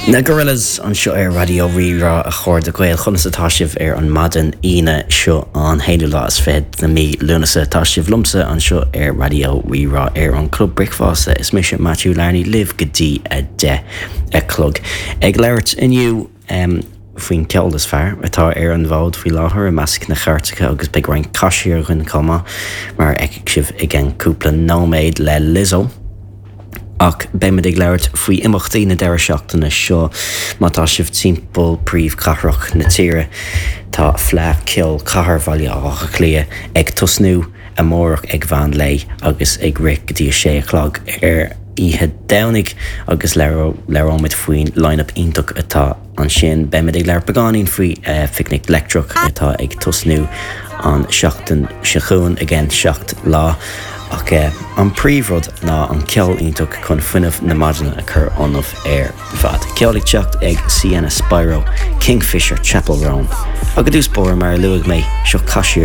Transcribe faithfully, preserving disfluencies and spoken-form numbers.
Na Gorillaz anseo ar Raidió Rí-Rá a chairde Gael conas atá sibh ar an maidin Aoine seo an haonú lá is fiche de mí Lúnasa tá sibh liomsa anseo ar Raidió Rí-Rá ar an Club Bricfeasta is mise Matthew Larney libh go dtí a deich a chlog. Ag labhairt inniu um, faoin ceol is fearr atá ar an bhfód faoi láthair i measc na cairteacha agus beidh roinnt caiseir againn chomh maith mar a fheicfidh sibh i gceann cúpla nóiméad le Lizzo. Ach beimid ag labhairt faoi imeachtaí na deireadh seachtaine seo má tá sibh timpeall príomhchathrach na tíre Tá Fleadh Cheoil Chathair Bhaile Átha Cliath ag tosnú amárach ag meán lae agus ag rith go dtí a sé a chlog ar oíche Domhnaigh agus labhróimid faoin line-up iontach atá ansin beimid ag labhairt beagáinín faoi uh, Phicnic Leictreach atá ag tosnú an seachtain seo chugainn i gceann seacht lá. ach uh, an príomhrud ná an ceol iontach chun fuinneamh na maidine a chur ionaibh ar fad. Ceol ag teacht ag Sienna Spiro, Kingfisher Chappell Roan. Agus dúspór mar luaigh mé seo Caiseir